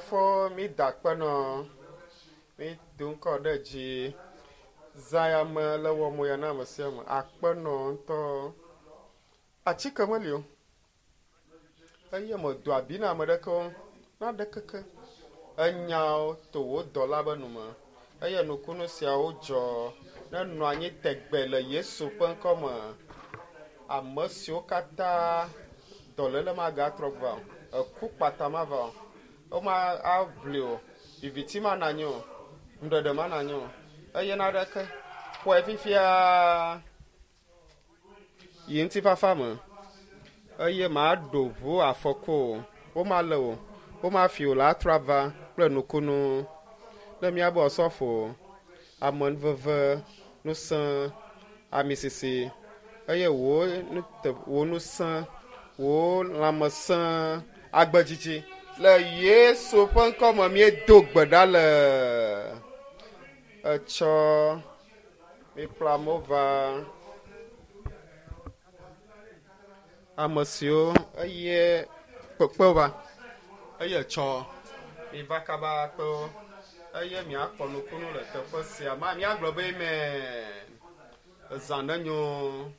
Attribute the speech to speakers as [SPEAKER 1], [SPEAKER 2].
[SPEAKER 1] Fofo, mída akpe nɔ, mído ŋkɔ ɖe dzi. Zã ya me le wɔ mo ya na ame sia ame. Akpe nɔ ŋutɔ. Atike meli o. Eye medo abi na ame ɖeke o. Naɖe keke. Enyawo to wò dɔla be nu me. Eye nukunu siawo dzɔ nenɔ anyi tegbe le Yesu ƒe ŋkɔ me. Ame siwo katã dɔléle magatrɔ gbɔ o. Eku kpata mava o. Woma aʋli o. Viviti mana anyi o. Nuɖeɖe mana anyi o. Eye naɖeke. Xɔe fifia yi ŋutifafa me eye maɖo ʋu afɔku o. Womalé o. Womafi o le atrɔ ava kple nukunu. Ne míabe osɔfo, amenuveve, ŋusẽ, amisisi eye wò nute wò ŋusẽ, wò lãmesẽ, agbedzidzi le Yesu ƒe ŋkɔ me míedo gbe ɖa le etsɔ mikplɔ amewo va ame siwo eye kpekpe va eye etsɔ miva kaba kpewo eye miakpɔ nukunu le teƒe sia ma miagblɔ be amen. Ezã nenyo.